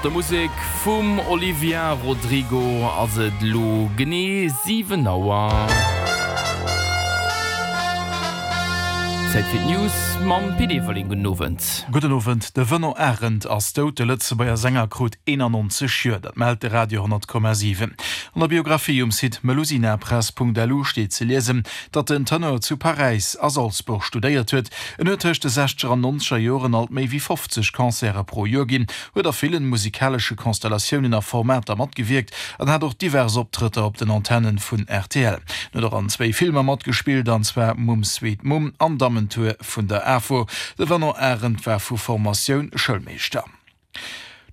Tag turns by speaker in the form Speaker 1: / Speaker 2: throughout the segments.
Speaker 1: Mat der Musek vum Olivia Rodrigo ass et elo genee 7 Auer. Zäit fir d'News mam Pit Everling. Gudden Owend.
Speaker 2: Gudden Owend. De Venant Arendt ass dout. De Lëtzebuerger Sänger krut 91 Joer. Dat mellt de Radio 10,7. An der Biographie um Site melusinapress.lu steet ze liesen, datt den Tenor zu Paräis a Salzburg studéiert huet. En huet tëscht de sechzeger an nonzeger Joren alt méi wéi 50 Concerte pro Joer ginn, huet a villen musikalesche Konstellatiounen a Formater matgewierkt an hat och divers Optrëtter op den Antennen vun rtl. En huet och an zwéi Filmer matgespillt, an zwar Mumm Sweet Mumm an Dammentour vun der AFO. De Venant Arendt war vu Formatioun Schoulmeeschter.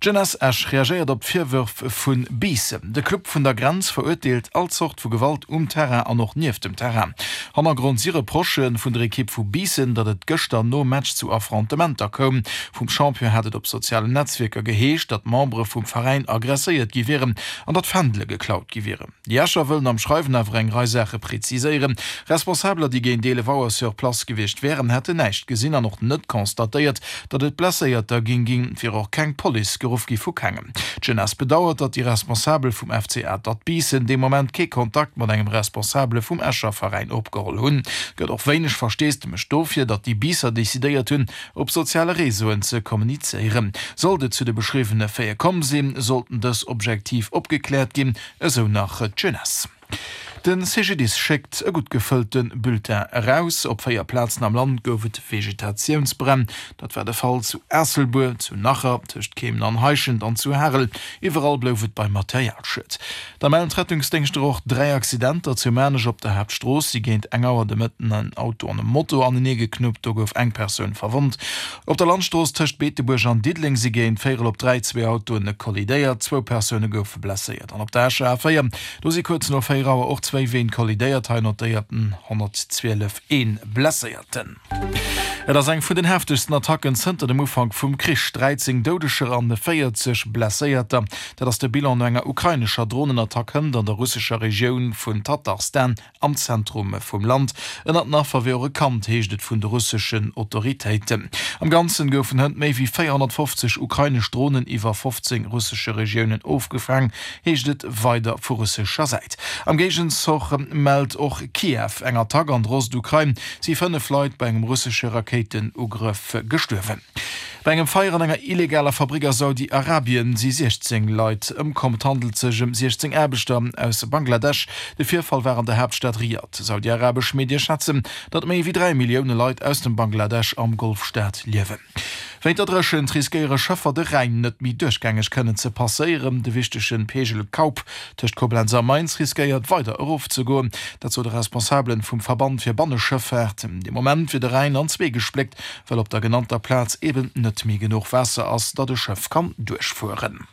Speaker 2: D'Jeunesse Esch reagéiert op d'Virwërf vu Biissen. De Club vun der Grenz verurteelt all Zort vu Gewalt um Terrain an och nieft dem Terrain. Hannergrond si Reprochë vun der Ekipp vu Biissen, datt et gëschter nom Match zu Affrontementer koum. Vum Champion hat et op sozialen Netzwierker geheescht, datt Membere vum Veräin aggresséiert gi wieren an datt Fändele geklaut gi wieren. Déi Escher wëllen am Schreiwen awer eng Rei Saache präziséieren. Responsabeler, déi géint 11 Auer sur place gewiescht wären, hätten näischt gesinn an och net constatéiert, datt et Blesséierter géing ginn. Et wier och keng Police geruff gi vu kengem. D'Jeunesse bedauert, datt déi Responsabel vum FC Atert Biissen dee Moment kee Kontakt mat engem Responsabele vum Escher Veräin opgeholl hunn. Et gëtt och wéineg Versteesdemech dofir, datt déi Biisser decidéiert hunn, op soziale Réseauen ze kommunizéieren. Sollt et zu de beschriwwene Faite komm sinn, sollten dës objektiv opgekläert ginn, esou nach d'Jeunesse. De CGDIS schéckt e gutt gefëllte Bulletin eraus. Op 4 Plazen am Land gouf et Vegetatiounsbränn. Dat war de Fall zu Aasselbuer, zu Nacher, tëscht Keemen an Heischent an zu Harel. Iwwerall blouf et beim Materialschued. Da mellen d'Rettungsdéngschter och 3 Accidenter. Zu Maarnech op der Haaptstrooss si géint eng Auer de Mëtten en Auto an e Moto aneneegeknuppt. Do gouf eng Persoun verwonnt. Op der Landstrooss tëscht Beetebuerg an Diddeleng si géint véierel op 3 zwee Autoen kollidéiert. Zwou Persoune goufe blesséiert. An op der Escher A4, do si kuerz no 4 Auer och zwéi Ween kollidéiert. Hei notéiert den 112 ee Blesséierten. Et ass eng vun den heftegsten Attacken zënter dem Ufank vum Krich, 13 Doudeger an 40 Blesséierter, dat ass de Bilan no enger ukrainescher Dronenattack hënt an der russescher Regioun vun Tatarstan am Zentrum vum Land. Ënnert den Affer wier och e Kand, heescht et vun de russeschen Autoritéiten. Am Ganzen goufen hënt méi wéi 450 ukrainesch Dronen iwwer 15 russesche Regiounen ofgefaang, heescht et weider vu russescher Säit. Am Géigenzoch mellt och Kiew eng Attack an der Ostukrain, si 5 Leit bei engem russesche Rakéitenugrëff gestuerwen. Bei engem Feier an enger illegaler Fabrick a Saudi-Arabien si 16 Leit ëmkomm. Et handelt sech ëm 16 Aarbechter aus Bangladesch. De Virfall war an der Haaptstad Riad. Saudi-arabesch Medie schätzen, datt méi wéi 3 Millioune Leit aus dem Bangladesch am Golfstaat liewen. Wéint der Dréchent riskéiere Schëffer de Rhäin net méi duerchgängeg kënnen ze passéieren. De wichtege Peegel Kaup tëscht Koblenz a Mainz riskéiert weider erofzegoen. Dat sot e Responsabelen vum Verband fir Banneschëffaart. De Moment wier de Rhäin an zwee gespléckt, well op der genannter Plaz eben net méi genuch Waasser ass, datt e Schëff kann duerchfueren.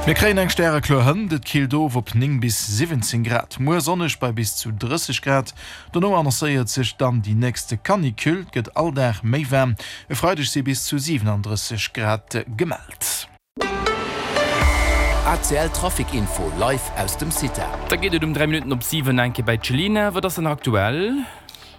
Speaker 2: Mir kréien eng stärekloer Hënt, et killt of op 9 bis 17 Grad. Muer sonneg bei bis zu 30 Grad. Dono annoncéiert sech dann déi nächste Canicule, et gëtt all Dag méi waarm, e Freideg si bis zu 37 Grad gemellt.
Speaker 3: ACL Trafic Info live aus dem CITA.
Speaker 1: Da geet et um 3 Minutten op 7 eng Kéier bei d'Chelina. Wat ass dann aktuell?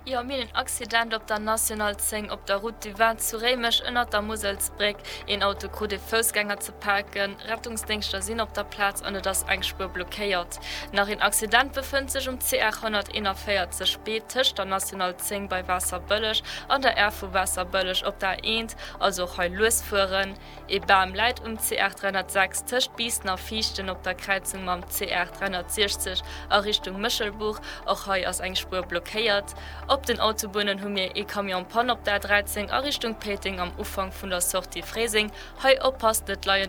Speaker 4: Jo, mir hunn en Accident op der National 10 op der Route du Vin zu Réimech ënnert der Muselsbréck. Een Auto krut e Foussgänger ze paken. Rettungsdéngschter sinn op der Plaz an et ass eng Spuer blockéiert. Nach een Accident befënnt sech um CR 141 B tëscht der National 10 bei Waasserbëlleg an der Aire vu Waasserbëlleg op der A1, also och hei lues fueren. Ee Bam läit um CR 306 tëscht Biissen a Viichten op der Kräizung mam CR 360 a Richtung Méchelbuch, och hei ass eng Spuer blockéiert. Op den Autobunnen hu mir ee Camion Panne op der A 13 a Richtung Péiteng am Ufank vun der Sortie Fréiseng, hei oppasst, et leien.